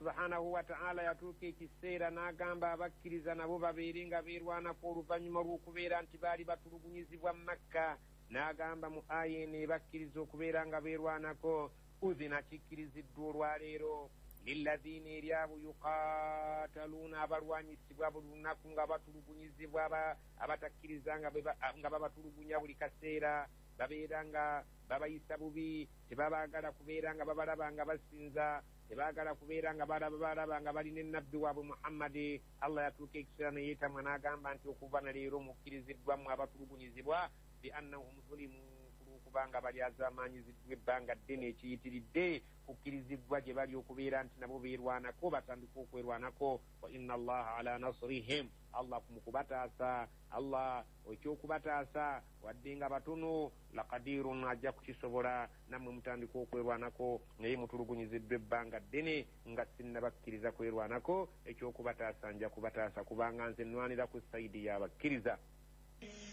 Subhanahu wataala yatuuka ekiseera n'agamba abakkiriza nabo babeere nga beerwanako oluvannyuma lw'okubeera nti baali batulugunyizibwa Makka. N'agamba mu aya eno ebakkiriza okubeera nga beerwanako, udhina, kikkiriziddwa olwaleero, lilladhiina, eri abo, yuqataluuna, abalwanyisibwa buli lunaku nga batulugunyizibwa abatakkiriza, nga babatulugunya buli kaseera, babeera nga babayisa bubi, tebabaagala kubeera nga babalaba nga basinza, tebaagala kubeera nga balaba nga balina ennabbi waabwe Muhammadi. Allah yatuuka ekiseera neyeetamwa n'agamba nti okuva na leero mukkiriziddwamu abatulugunyizibwa, bi annahum zulimu, kulwokubanga balyazaamaanyiziddwa ebbanga ddene ekiyitiridde, kukkiriziddwa gye bali okubeera nti nabo beerwanako, batandika okwerwanako. Wa inna Allaha ala nasrihim, Allah mu kubataasa, Allah ekyokubataasa wadde nga batono, laqadirun, ajja kukisobola. Nammwe mutandika okwerwanako, naye mutulugunyiziddwa ebbanga ddene nga sinnabakkiriza kwerwanako. Ekyokubataasa nja kubataasa, kubanga nze nwanira ku side y'abakkiriza.